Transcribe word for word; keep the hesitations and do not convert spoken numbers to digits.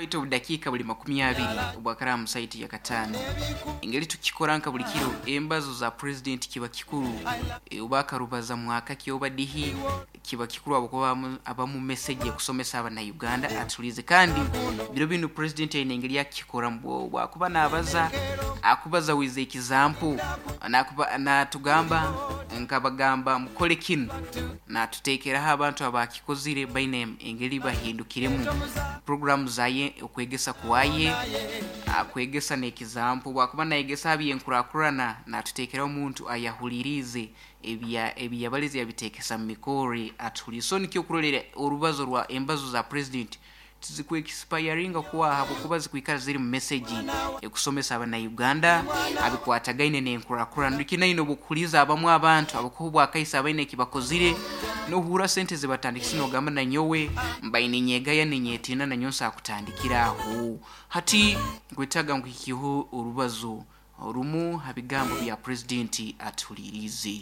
Waitu obudakiika buli makumi abiri obwakara mu saiti ya kataano. Engeri tukikora nka buli kiro, embazo za pulezidenti kiba kikuru. E, oba akarubaza mwaka ki oba dihi, kiba kikuru ahabwokuba abamu- abamu message ekusomesa abannayuganda atulize. Kandi biro binu pulezidenti aine engeri akukikoramu, bwakuba nabaza akubaza wiza ekizampu, nakuba natugamba nkabagamba mukole kinu, natuteekeraho abantu abakikozire baine engeri bahindukiremu programu zaye, okwegesa kwaye akwegesa n'ekizampu. Bwakuba nayegesa abyenkurakurana, natuteekeraho omuntu ayahuliriize ebya ebiyabalize yabitekesa mu mikore atuhulire. So nikyo okurolera orubazo rwa embazo za president tizikwekispiringa kuwa habwokuba zikwikara ziri mu message ekusomesa abannayuganda abikwatagaine n'enkurakurana. Nikinaine obukuhuliza abamu abantu abakuha obwakaisa abaine ekibakozire, nohura sente zibatandikisa nogamba nanyowe mbaine nyegaya ninyetina nanyowe nsakutandikira aho. Hati nkwetaaga nkuhikiho orubazo orumu ha bigambo bya pulezidenti atuhuliriize.